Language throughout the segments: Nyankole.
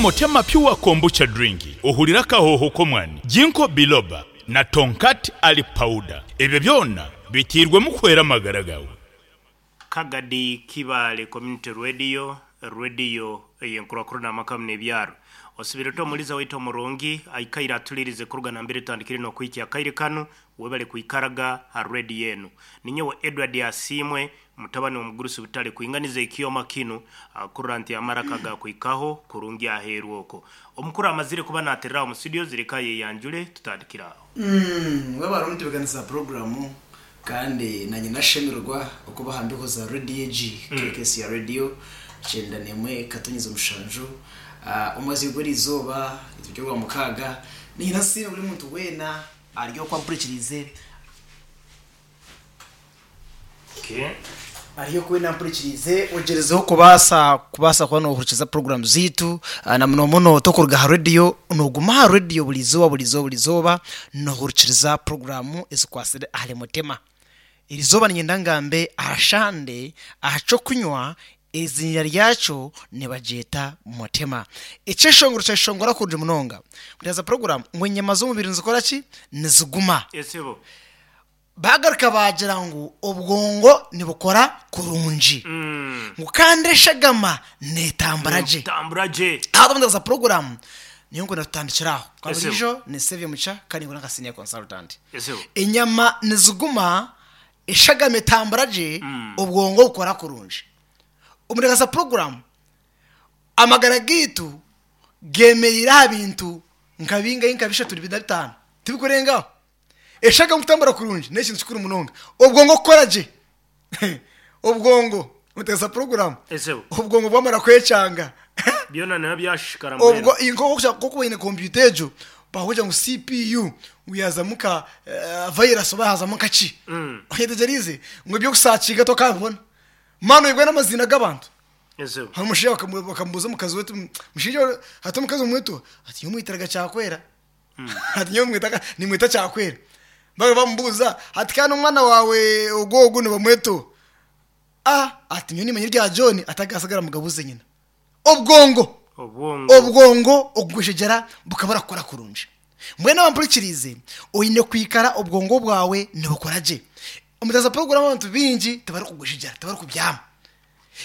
Mutema Pure Kombucha Drink, ohurire akahooho k'omwani, Ginkgo Biloba na Tongkat Ali Powder. Ebyo byona biteirwemu kuhwera amagara gaawe. Kagadi Kibaale Community Radio, rediyo ey'enkurakurana amaka hamu n'ebyaro. Osibire ota omuliza waitu omurungi aikaire atulirize kuruga nambere tutandikire n'okuhikya akaire kanu. Webale kwikaraga ha rediyo enu. Ninyowe Edward Asiimwe, mutabani w'omugurusi Butale kwinganiza ekyoma kinu kurora nti amaraka gakuhikaho kurungi aheeru oko. Omukuru amazire kuba naterera aho mu studios leka ayeyanjule tutandikire aho. Webale omutebekanisa puroguramu kandi nanye nashemererwa okuba aha mbeho za rediyo egi KKC ya rediyo 91.7 omwezi gw'erizooba nituri orwamukaaga niinyenda nsiime buri muntu weena ari oku ampurikiriize. Ari oku weena ampurikiriize ogyerezeho kubaasa kubaasa kuba noohurikiza puroguraamu zaitu na muno muno tokuruga aha rediyo nooguma aha rediyo buri izooba buri izooba buri izooba noohurikiriza puroguraamu ezikwatsire ahari Mutima. Erizooba niinyenda ngambe aha shande aha ky'okunywa Eiziina ryakyo nibagyeta Mutema. Ekyeshongoro kyeshongora kurungi munonga. Mutaaza puroguramu ngu enyama z'omubiri nizikora ki? Niziguma. Esebo. Baagaruka baagira ngu obwongo nibukora kurungi. Ngu kandi eshagama neetambura gye. Neetambura gye. Aho mutaaza puroguramu niyo nkwenda tutandikire aho. Kwa Esebo. buriijo ni Saviour Mugisha kandi nkora nka senior consultant. Esebo. Enyama niziguma Eshagama etambura gye, obwongo bukora kurungi. Omu Darasa Puroguramu, amagara gaitu gemereire aha bintu nka bingahi nka bishatu bina bitaano, tibikurenga aho. Eshagama kutambura kurungi n'ekintu kikuru munonga. Obwongo kukora gye, obwongo omu Darasa Puroguramu, obwongo bwamara kwekyanga, Byona nibiba byashishikara mbwenu. Obwo nk'oku oine kompyuta egyo, bakugira ngu CPU ngu yaazamu nka virus oba yaazamu nka ki. Oyetegyereize? Ngu eby'okusaakinga tokabibona. Mani oibwe n'amaziina g'abantu. Hariho omushaija bakamubuuza omukazi we ati, mushaija ati omukazi omweto ati nyowe mwitiraga Kyakwera. Ati nyowe nimweta Kyakwera. Baaba bamubuuza ati kandi omwana waawe ogu ogu nibamweta oha? Ah ati nyowe nimanya erya John ati agasigara mugabuze nyina. Obwongo Obwongo. obwongo okugwejegyera bukabura kukora kurungi. Mbwenu abampurikiriize oine kwikara obwongo bwawe nibukora gye. Omutaza puroguramu abantu baingi tibarikugwejegyera tibarikubyama.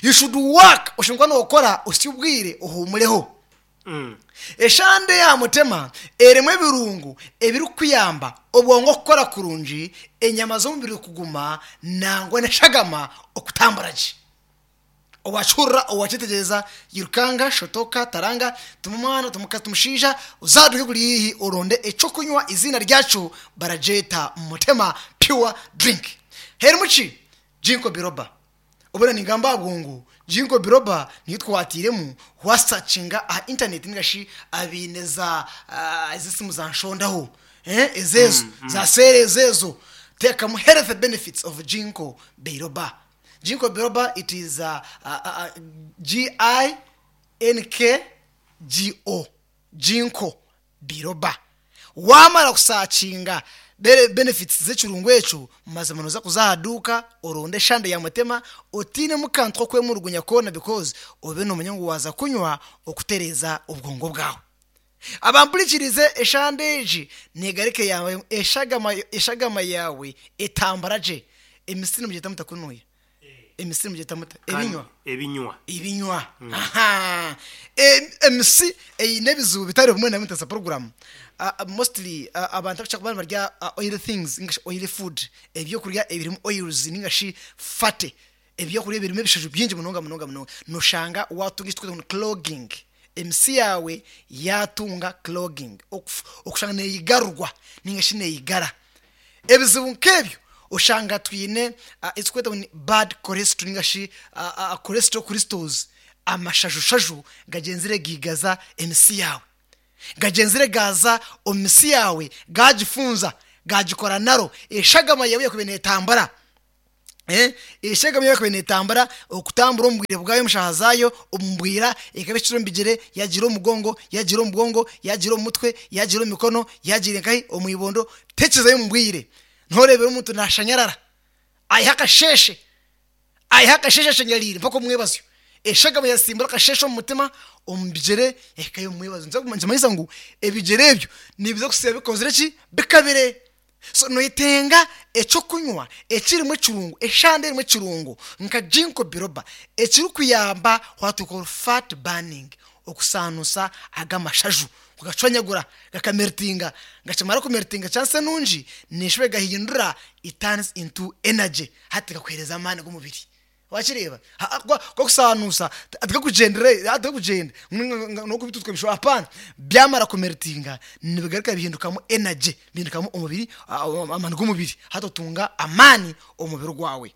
You should work oshemereire kuba nokora osye obwire ohuumureho. Eshande ya mutema erimu ebirungo ebirikukuyamba obwongo kukora kurungi, enyama z'omubiri kuguma nangwa n'eshagama okutambura gye. Owakihurira, owakyetegyereza, yirukanga, shotoka, taranga, tuma omwana, tuma omukazi, tuma omushaija, oze aha duuka ekuri haihi oronde eky'okunywa eiziina ryakyo baragyeta Mutema Pure Drink. Herimu ki? Ginkgo biloba. Obwire ningamba aha bwongo, Ginkgo biloba niyo twatiiremu wasakinga aha intaneti ninga shi abaine za ezi esimu za nshondaho ezeezo za seera ezeezo teekamu health benefits of Ginkgo biloba. Ginkgo biloba it is G-I-N-K-G-O Ginkgo biloba. Waamara kusaakinga benefits z'ekirungo ekyo, mazima nooza kuza aha duuka oronde eshande ya mutema otiinemu kantu k'okwemurugunya koona because obe noomanya ngu waaza kunywa okutereeza obwongo bwawe. Abampurikiriize eshande egi neegarika eyaawe eshagama eshagama yaawe etambura gye. Emisiri nimugyeta muta kunuya? Emisiri mugyeta muta? Ebinywa? Ebinywa. Ebinywa. Aha. Emisi eine ebizibu bitari bimwe na bimwe ntaza puroguramu. Mostly abantu abakira kuba nibarya oily things ninga shi oily food, ebyokurya ebirimu oils ninga shi fatty, ebyokurya ebirimu ebishaju bingi munonga munonga munonga, noshanga watunga eki turikweta ngu ni clogging. Emisi yaawe yaatunga clogging, okushanga neeyigarurwa ninga shi neeyigara. Ebizibu nk'ebyo oshanga twine eki turikweta ngu ni bad cholesterol ninga shi cholesterol crystals, amashaju-shaju gagyenzire gaigaza emisi yaawe. Gagyenzire gaaza omu misi yaawe gaagifunza, gaagikora naro, eshagama yaawe yakubaire neetambura. Eshagama yaaba ekabaire neetambura, okutambura omu bwire bwayo omu shaaha zaayo, omu bwira, ekaba ehikire omu bigyere, yaagiira omu mugongo, yaagiira omu bwongo, yaagiira omu mutwe, yaagiira omu mikono, yaagiira nkahi? Omu ibondo, tekizayo omu bwire. Nooreebera omuntu naashanyarara, aiha akasheeshe, aiha akasheeshe ashanyariire mpaka omu mwebazyo. Eshagama yasimbura akasheeshe omu mutima, omu bigyere yahikayo omu mwebazo. Nikimanyisa ngu ebigyere ebyo nibiza kusiiba bikozire ki? Bikabire. So noyetenga ekyokunywa ekirimu ekirungo, eshande erimu ekirungo nka Ginkgo biloba ekirikuyamba what we call fat burning, okusaanuusa ag'amashaju kugacwanyagura gakameltinga, gakimara kumeltinga chance enungi neshuba egahindura it turns into energy hati gakuhereza amaani g'omubiri. Wakireeba? Ku akusanuusa tikakugyendera tikakugyenda n'okubituuka ebishuba hapana. Byamara kumeltinga nibigaruka bihindukamu energy, bihindukamu omubiri amaani g'omubiri hati otunga amaani omu mubiri gwawe.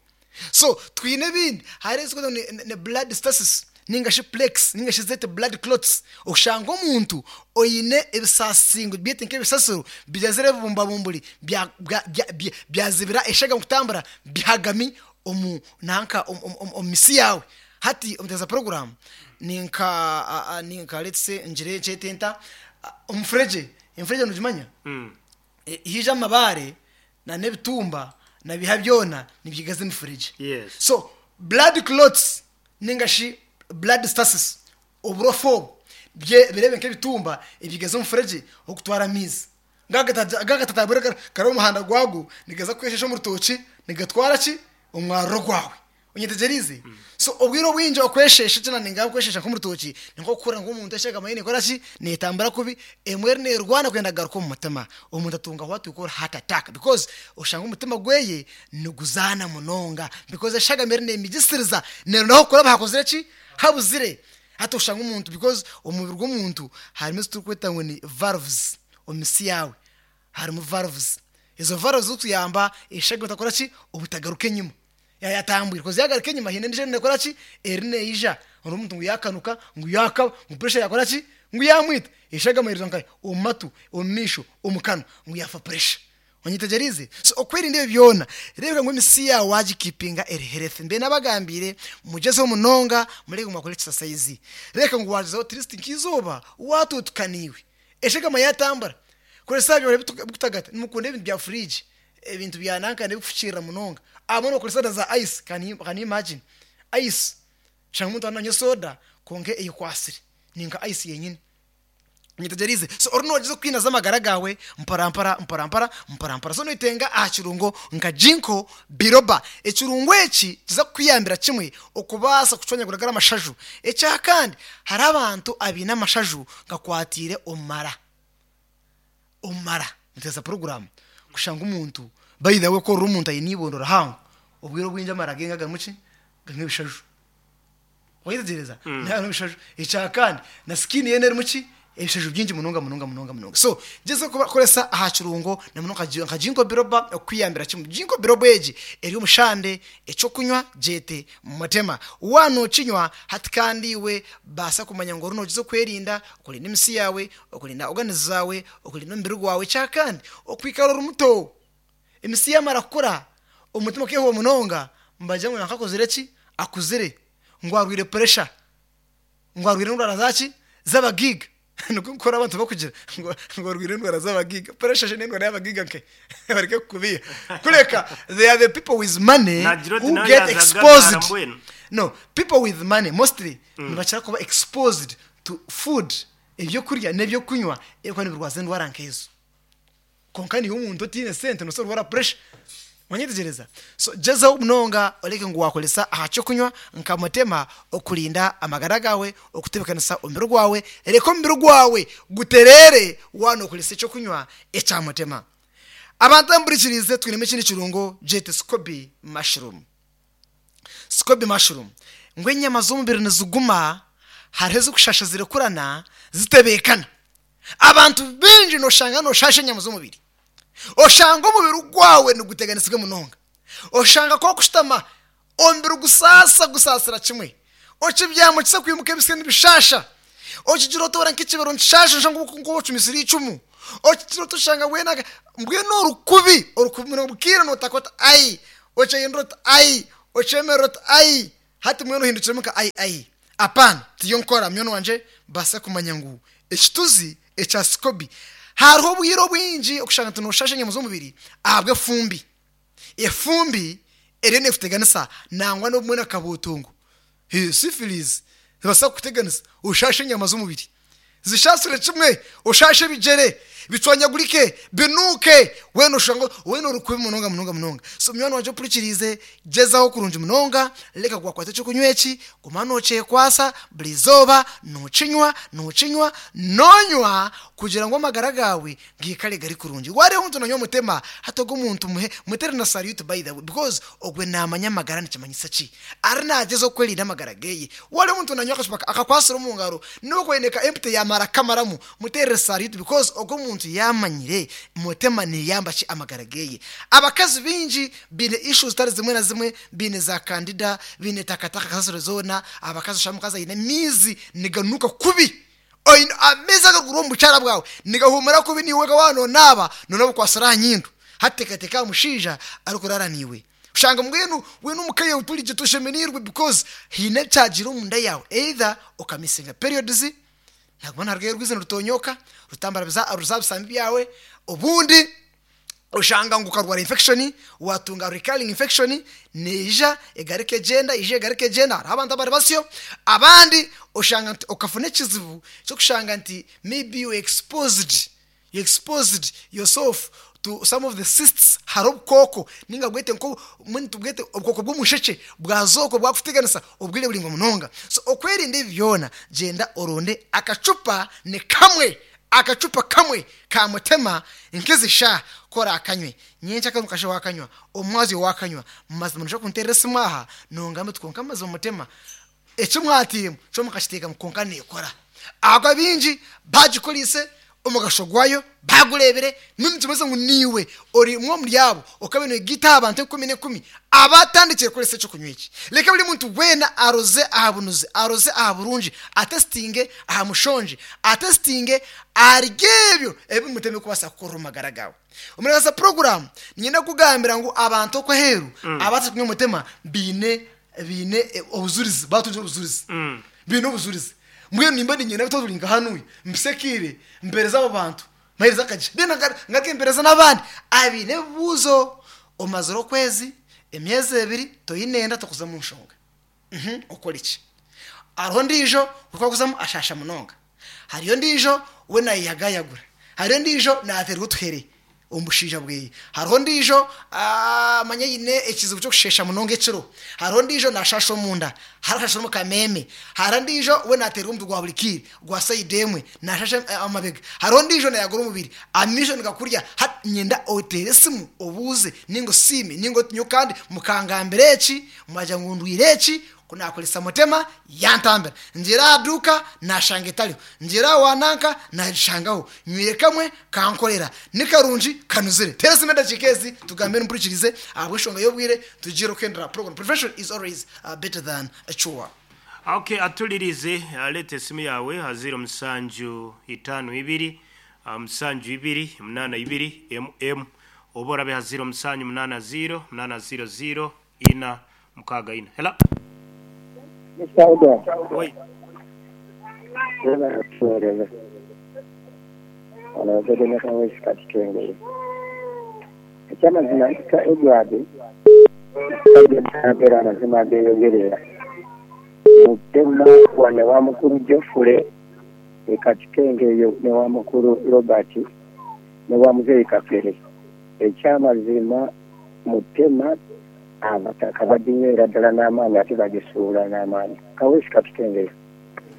So twine ebindi hariho ezirikwetwa ngu ni blood stasis ninga shi plaques ninga shi zeete blood clots oshanga omuntu oine ebisasingo byete nk'ebisasiro bigyezire ebibumbabumburi byazibira eshagama kutambura bihagami omu nanka omu misi yaawe. Hati omuteeza puroguraamu ninka ninka let's say ngire nkyete nta omufuregye, emufuregye nogimanya? Haija amabaare na n'ebitumba na biha byona nibyigaza emifuregye. So blood clots ninga shi blood stasis oburofa obu birebe nk'ebitumba ebyigaza omufuregye ogukutwara amaizi. Gagatatagura kari omu muhanda gwago nigaza kweshesha omu rutookye nigatwara ki? Omwaruro gwawe. Onyetegyereize? So obwire obwingi okweshesha eki nangamba kweshesha nk'omu rutookye ni nk'okuhurira ngu omuntu eshagama ye nekora ki? Netambura kubi, emwe eriyo nerwana kwenda kugaruka omu mutima. Omuntu atunga what we call heart attack because oshanga omutima gweye niguzaana munonga because eshagama eriyo nemigisiriza neronda ah'okuraba hakozire ki? Habuzire. Hati oshanga omuntu because omu mubiri gw'omuntu harimu ezi turikweta ngu ni valves. Omu misi yaawe harimu valves. Ezo valves zirikuyamba eshagama etakora ki? Obutagaruka enyima. Yaaba yatambwire koz yaagaruka enyima haine endiijo eriyo neekora ki? Eriyo neija. Oreeba omuntu ngu yaakanuka, ngu yaakaba, ngu pressure yaakora ki? Ngu yaamwita. Eshagama eriza nkahi? Omu matu, omu maisho, omu kanwa, ngu yaafa pressure. Onyetegyereize? So okwerinda ebyo byona, reebeka ngu emisi yaawe waagikipinga eri healthy. Mbwenu nabagambiire mugyezeho munonga murebe ngu mwakora exercise. Reebeka ngu waagyezaho at least nk'eizooba waatuutuka naiwe. Eshagama yaatambura. Koresa aha byokurya ebirikutagata. Nimukunda ebintu bya fridge, ebintu bya nanka ebirikufukiirira munonga. Abamwe nibakoresa na za ice, can you can you imagine? Ice. Oshanga omuntu ariyo nanywa soda kwonka eyekwatsire, ni nka ice yenyine. Onyetegyereize? So oriyo noogyezaho kwinaza amagara gaawe mporampora, mporampora, mporampora. So noyetenga aha kirungo nka Ginkgo biloba. Ekirungo eki nikiza kukuyambira kimwe okubaasa kucwanyagura gari amashaju. Ekyakandi, hariho abantu abaine amashaju gakwatiire omu mara. Omu mara. Nituteesa puroguraamu kushanga omuntu, by the way ku orora omuntu aine eibondo rihango, obwire obwingi amara ge ngagarimu ki? Garimu ebishaju. Wayetegyereza? Harimu ebishaju. Ekyakandi, na skin ye erimu ki? Ebishaju bingi munonga munonga munonga munonga. So, gyezaho kukoresa aha kirungo na munonga nka Ginkgo biloba okukuyambira kimwe. Ginkgo biloba egi eri omu shande, eky'okunywa gyete mutema. Waaba nookinywa hati kandi iwe baasa kumanya ngu oriyo noogyezaho kwerinda, okurinda emisi yaawe, okurinda organs zaawe, okurinda omubiri gwawe. Ekyakandi, okwikara ori muto. Emisi yaamara kukura, omutima gukeehuba munonga, nibagira ngu nanka akozire ki? Akuzire, ngu arwaire puresha, ngu arwaire endwara zaaki? Z'abagaiga. Nikwo nkora abantu barikugira ngu arwaire endwara z'abagaiga. Puresha shi n'endwara y'abagaiga nkahi? Bareke kukubeiha. Kureka they are the people with money Naagira oti who nawe get yaaza exposed. agagara mbwenu. No, people with money mostly nibakira kuba exposed to food, ebyokurya n'ebyokunywa ebirikuba nibirwaza endwara nk'ezo. Kwonka niiwe omuntu otaine sente noobaasa kurwara puresha. Wanyetegyereza? So gyezaho munonga orebe ngu waakoresa aha ky'okunywa nka mutema okurinda amagara gaawe, okutebeekanisa omubiri gwawe, reka omubiri gwawe gutereere waaba nookoresa eky'okunywa ekya mutema. Abantu abampurikiriize twinemu ekindi kirungo gyete scoby mushroom. Scoby mushroom ngu enyama z'omubiri niziguma hariho ezikushasha zirekurana zitebeekana. Abantu baingi noshanga noshasha enyama z'omubiri. Oshanga omubiri gwawe niguteganisibwa munonga. Oshanga ku orikushutama omubiri gusaasa gusaasira kimwe. Okibyama okisa kwimuka ebitsya nibishasha. Okigira oti ora nk'ekibero nikishasha noshusha ngu ocumisire eicumu. Okigira oti oshanga mbwenu mbwenu orukubi orukubi munonga bukira notaka oti ai, okyehindura oti ai, okyemerera oti ai. Hati mbwenu ohindukiremu nka ai ai. Apana, tiyo nkora munywani wangye baasa kumanya ngu ekituzi ekya sikobi hariho obwire obwingi okushanga nti noshasha enyama z'omubiri ahabw'efumbi. Efumbi eriyo nekuteganisa nangwa n'obumwe na kabuutungu. Syphilis nebaasa kukuteganisa oshaashe enyama z'omubiri. Zishaasire kimwe, oshaashe ebigyere, bicwanyagurike, binuuke, weena oshusha ngu weena ori kubi munonga munonga munonga. So munywani wangye ompurikiriize, gyezaho kurungi munonga, reka gwakwata eky'okunywa eki, guma nookyekwasa buri izooba, nookinywa, nookinywa, noonywa kugira ngu amagara gaawe gaikare gari kurungi. Waareeba omuntu nanywa mutema, hati ogwo omuntu muhe, muteere na salute by the way because ogwe naamanya amagara nikimanyisa ki. Ari naagyezaho kwerinda amagara geeye. Waareeba omuntu nanywa akacupa akakwatsire omu ngaro, n'obu kwaine ka empty yaamara kukamaramu, muteerere salute because ogwo omuntu yaamanyire mutema neeyamba ki amagara geeye. Abakazi baingi baine issues zitari zimwe na zimwe, baine za candida, baine takataka kasasiro zoona, abakazi oshanga omukazi aine amaizi niganuuka kubi. Oine amaizi agarikuruga omu bukyara bwawe nigahuumura kubi naiwe wenka waaba noonaaba noonaaba okwatsire aha nyindo. Hati teekateeka aha mushaija arikuraara naiwe. Oshanga mbwenu weena omu ka yaawe turi gye toshemereirwe because haine ekyagiire omunda yaawe either okamisinga periods, naguma niharugayo orwizi nirutoonyoka rutambura ruza aha bisambi byawe, obundi oshanga ngu okarwara infection, watunga recurring infection neija egaruka egyenda, eija egaruka egyenda, hariho abantu abari basyo. Abandi oshanga nti okafuna ekizibu ky'okushanga nti maybe you exposed, you exposed yourself to some of the cysts, hariho obukooko ninga bwete nko mbwenu tubwete obukooko bw'omushekye bwaza okwo bwakuteganisa obwire buraingwa munonga. So okwerinda ebi byona gyenda oronde akacupa ni kamwe Akacupa kamwe ka mutema nk'ezi shaaha ku oraakanywe, nyenkya kare omukasheeshe waakanywa, omwazyo waakanywa, mazima noija kunteerera esimu aha nongamba oti kwonka mazima mutema eki mwatairemu kyo mukakiteekamu kwonka neekora. Ahabw'okuba baingi baagikoreise omugasho gwayo baagureebire, mbwenu nikimanyisa ngu naiwe ori omwe omuri abo okabaire noyegaita aha bantu enkumi n'enkumi abaatandikire kukoresa eky'okunywa eki. Reka buri muntu weena aroze aha bunuzi, aroze aha burungi, atesitinge aha mushongi, atesitinge ahari ebyo ebi mutema kubaasa kukorera omu magara gaawe. Omu puroguraamu, niinyenda kukugambira ngu abantu okwo aheeru abaatandikire kunywa mutema baine baine obujurizi, baatungire obujurizi. Baine obujurizi. Mbwenu nimba niinyenda ngu turi nka hanuya, mpise akaire mpeereze abo bantu. Mpereza akagisha. Then ngaruke mpereze n'abandi abaine ebibuuzo. Omazire okwezi, emyezi ebiri toine nda tokuza omu nshonga. Okore ki? Hariho ondiijo ku arikuzamu ashaasha munonga. Hariyo ondiijo we nayeyagayagura. Hariyo ondiijo naateerwa otuhere omu bushaija bweye. Hariho ondiijo manya aine ekizibu ky'okusheesha munonga ekiro. Hariho ondiijo naashaasha omunda. Hariho ashashira omu kameeme. Hariho ondiijo we naateerwa omutwe gwa buri kiire gwa sayidi emwe, naashasha amabega. Hariho ondiijo naayagura omubiri, amaisho nigakurya. Hati niinyenda oteere esimu obuuze nainga osiime nainga oti nyowe kandi mukangambira eki, mwagira ngu ndwaire eki, ku naakoresa mutema yantambira. Ngiire aha duuka naashanga etariho, ngiire aha wa nanka naagishangaho. Nywire kamwe kankorera. Ni karungi kanuzire. Teera esimu edakiika ezi tugambe mpurikirize ahabw'enshonga y'obwire tugiire kuhendera program. Prevention is always better than cure. Ok atulirize leeta esimu yaawe aha ziiro musanju itaano ibiri musanju ibiri munaana ibiri emu emu oba orabe aha ziiro musanju munaana ziiro munaana ziiro ziiro ina mukaaga ina. Hello. Mister Edward. Oi. Webale kutuweereza. Ono Obed Nakawesi Katitwengeye. Ekyamazima Mister Edward ayogera amazima ageyogerera. Mutema wano ewa mukulu Geoffrey e Katitengeyo n'ewa mukulu Robert n'ewa muzeeyi Kapere. Ekyamazima Mutema abataka baginywera ddala n'amaani ate bagisuula n'amaani. Kaweesi Katutengeyo.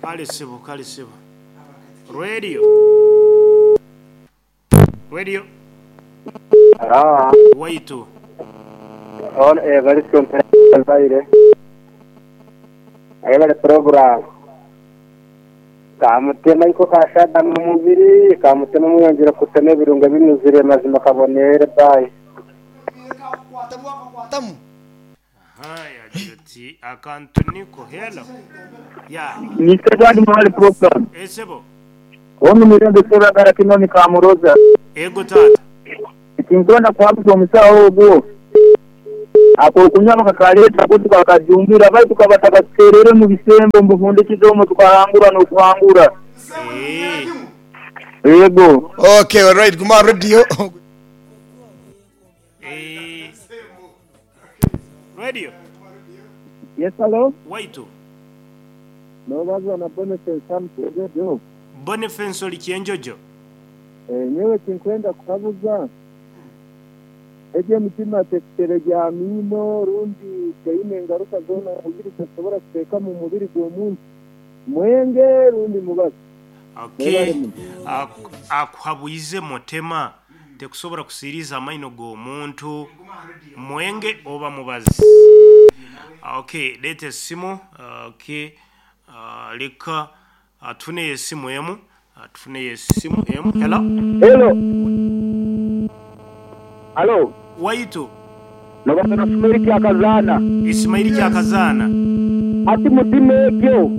Kale sebo, kale sebo. Radio. Radio. Haa. Waitu. Hon Evaristo Mbaire. Ayebare program. Kamutema iko kashada mu mubiri, kamutema muyongere kutema ebirungo ebinuzire mazima kabonere bye. Wakakwatamu. Aha, yagira ati akantu niko. Hello. Ya. Mister Edward Mwale program. Eh sebo. Omu Mirembe Sebagara Kinoni Kamuroza. Ego taata. Tinkwenda kuhabuza omusaho ogwo. Ak'okunywa bakakaleeta ku tukakajumbira baitu kaba takatuterere omu bisembo omu bufundikizo omwo tukahangura n'okuhangura. Eeh. Yego. Okay, alright, guma aha radio. Eeh. Radio. Yes, hello. Waitu. Nobaza na Boniface hanu Kyenjojo. Boniface ori Kyenjojo? Nyowe ekinkwenda kuhabuza, egyo emitima tekutere gya miino rundi teine ngaruka zoona omu mubiri tesobora kuteeka mu mubiri gw'omuntu. Mwenge rundi mubazi. Okay. Mwebale muno. Akuhabwize mutema tekusobora kusiiriza amaino g'omuntu. Mwenge oba mubazi. Okay, leeta esimu. Okay. Leka tufuneyo esimu emu. Tufuneyo esimu emu. Hello. Hello. Halo. Waitu. Nobaza na Ismail Kyakazaana. Ismail Kyakazaana. Hati mutima egyo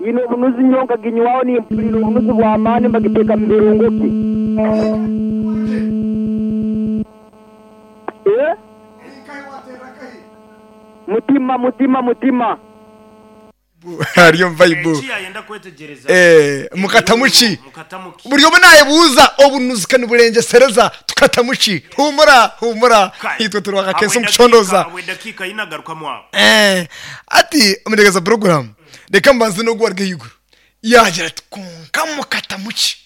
eine obunuzi nyowe nkaginywaho nimpurira obunuzi bw'amaani mbagiteeka mu birungo ki? Eh? Mutima, mutima, mutima. Ari omu Bible. Eki yayenda kwetegyereza. Eh, mukatamu ki? Mukatamu ki? Buri omwe nayebuuza obunuzi ka niburengyesereza tukatamu ki? Huumura, huumura, Kare. itwe turi bakakensa omu Habwe kucondooza. habwe dakiika ina garukamu aho. Eh, hati omuteekateesa puroguraamu, reka mbanze n'ogu ari ahaiguru. Yaagira ati, Kwonka mukatamu ki?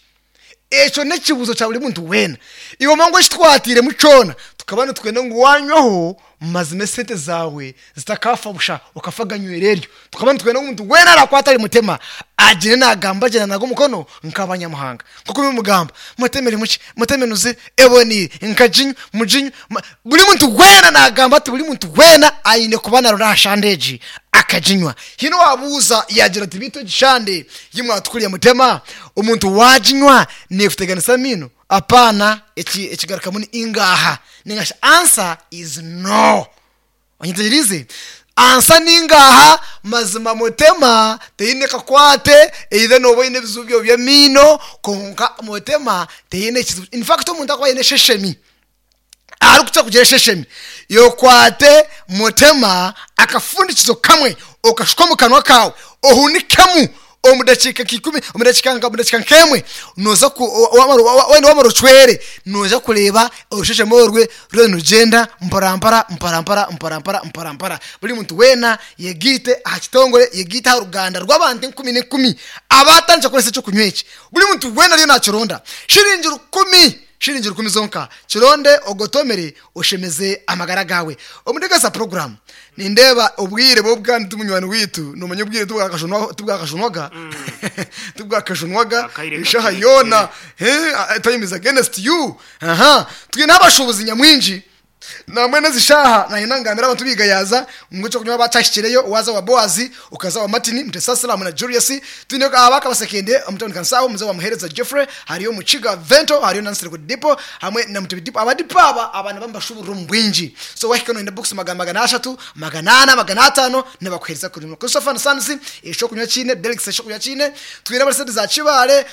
Ekyo n'ekibuuzo kya buri muntu weena. Iwe omanye ngu eki twatairemu kyona, tukaba nitwenda ngu waanywaho, mazima esente zaawe zitakaafa busha okafa ganywera eryo. Tukaba nitwenda ngu omuntu weena araakwate ahari Mutema agire naagamba gye naanaga omukono nk'abanyamuhanga. Nk'oku murikugamba, Mutema erimu ki? Mutema enuzire, eboneire, nkaginywa, muginywe. Buri muntu weena naagamba ati buri muntu weena aine kuba naarora aha shande egi akaginywa. Haine owaabuuza yaagira ati, Beitu egi shande ei mwatukuriire Mutema, omuntu waaginywa neekuteganisa amaino? Apaana, eki ekigarukamu ni ingaaha ninga shi answer is no. Onyetegyereize? Ansa ni ngaaha, mazima Mutema teine kakwate either nooba oine ebizibu byawe by'amaino kwonka Mutema teine kizibu. In fact omuntu akuba aine esheshemi, arikukira kugira esheshemi, yokwate Mutema akafundikizo kamwe okashuka omu kanwa kaawe ohunikemu omu dakiika nka ikumi, omu dakiika nka omu dakiika nk'emwe nooza ku wamara wayenda wamara ocwere nooza kureeba orushesheme orwe ruriyo nirugyenda mporampora mporampora mporampora mporampora. Buri muntu weena yegaite aha kitongore, yegaite aha ruganda rw'abantu enkumi n'enkumi abaatandikire kukoresa eky'okunywa eki. Buri muntu weena ariyo naakironda. Shiringi rukumi, shiringi rukumi zonka, kironde ogotomere oshemeze amagara gaawe. Omu ntebeekanisa puroguraamu, nindeeba obwire bwo bwa ndi munywani waitu, noomanya obwire tibwakajunwaga, tibwakajunwaga, Akaire eshaaha kakirekire. yoona, time is against you, aha. Twine abashuubuzi nyamwingi, nambwenu ezi shaaha naayenda ngambire abantu b'Igayaaza ngu eky'okunywa bakyahikireyo, waaza owa Boazi, okaza owa Martin, Mutesasira hamwe na Julius, Twine aba Kabasekende omu tawuni Kansaho, Mzee wa Muhereza Geoffrey, hariyo Mukiga Vento, hariyo na Nsereko Dipo hamwe na Mutebi Dipo. Aba Dipo aba aba nibaba nibashuburira omu bwingi. So wahika noyenda bokisi 400, 400, 500 nibakuhereza kurungi. Christopher and Sons ekyokunywa kiine, Delix ekyokunywa kiine. Twine abari side za Kibaale,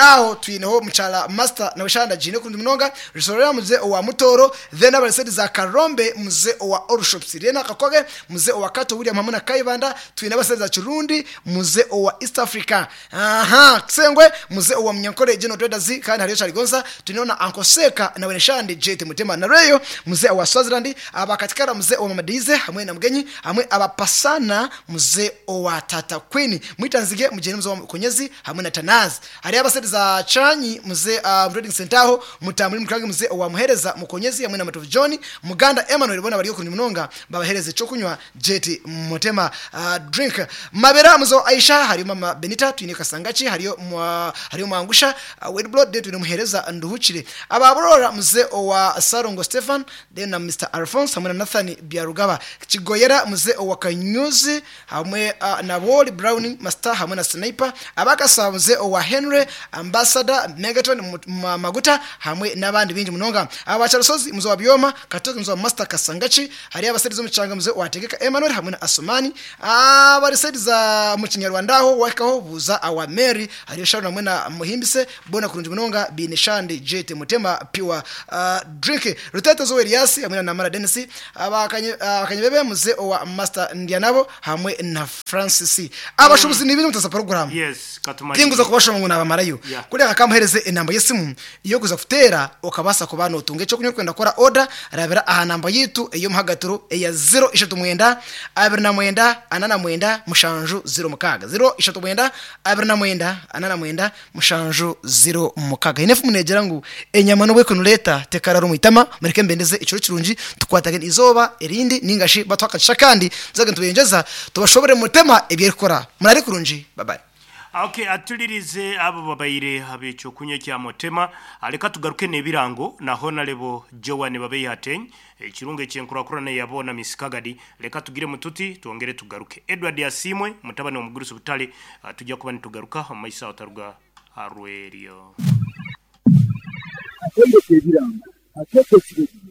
aho twineho Mukyala Master nawe shana agiine kurungi munonga. Rusorera Mzee owa Mutooro, then abari side za Karombe Mzee owa All Shops Rena Kakoge, Mzee owa Kato William hamwe na Kayibanda, twine abari side za Kirundi, Mzee owa East Africa aha Kisengwe, Mzee owa Munyankore General Traders kandi hariyo Kyaligonza, twineho na Uncle Seeka nawe Neshandi Jet Mutema na Reyo, Mzee owa Swaziland, aba Katikara Mzee owa Mama Deize hamwe na Mugenyi hamwe aba Pasana Mzee owa Tata Queen Mwitanzige mugyende Mzee owa Mukonyezi hamwe na Tanazi. Hariyo abasede za Chanyi Mzee uh, Trading Centre aho Mutambuli Mukange Mzee owa Muhereza Mukonyezi hamwe na Matovu John Muganda Emmanuel bona bari okurungi munonga babahereze ekyokunywa Jet Mutema uh, drink Mabera Mzee wa Aisha hariyo Mama Benita twine Kasangaki hariyo mwa, hariyo Mwangusha uh, Wedblood then twine Muhereza Nduhukire aba Burora Mzee owa Sarongo Stephen then na Mr Alphonse hamwe na Nathan Byarugaba Kigoyera Mzee owa Kanyuzi hamwe uh, na Woli Brown Master hamwe na Sniper aba Kasabo Mzee owa Henry Ambassador Megaton Maguta hamwe n'abandi baingi munonga. Aba Kyarusozi Mzee wa Byoma Katoke Mzee wa Master Kasangaki hariyo aba side z'omukyanga Mzee wa Tegeka Emmanuel hamwe na Asumani abari side za mukinyarwanda aho wahikaho buuza awa Mary hariyo Sharon hamwe na Muhimbise boona kurungi munonga baine Shandi Jet Mutema Pure uh, Drink Rutetezo Elias hamwe na Namara Denis aba Kanyebebe Mzee owa Master Ndyanabo hamwe na Francis. Abashubuzi ni bintu mutasa program. Yes, katumanye. Tinguza kubashoma ngu nabamarayo. Yeah. Kuri aka kamuhereze enamba y'esimu iyo kuza kuteera okabaasa kuba notunga ekyokunywa orikwenda kukora order Rabira aha namba yitu ey'omuhagatiro eya 039 29 49 7 06 039 29 49 7 06. Hiine efumu neegira ngu enyama n'obu ekunureta tekarara omu itama. Mureke mbendeze ekiro kirungi, tukwatagane izooba erindi ninga shi batuha akagisha akandi tuzage nitubengyeza tubashobore mutema ebi erikukora. Murare kurungi. Bye bye. Okay, atulirize abo babaire ab'ekyokunywa ekya Motema. Leka tugaruke n'ebirango na Honarebo Joan Babeihateny, ekirungo eky'enkurakurana eya boona Miss Kagadi. Leka tugiremu tuti twongere tugaruke. Edward Asiimwe, mutabani w'omugurusi Butare, tujja kuba nitugaruka omu maiso aho taruga aha rw'eryo. Akatebe k'ebirango akeetokire gye.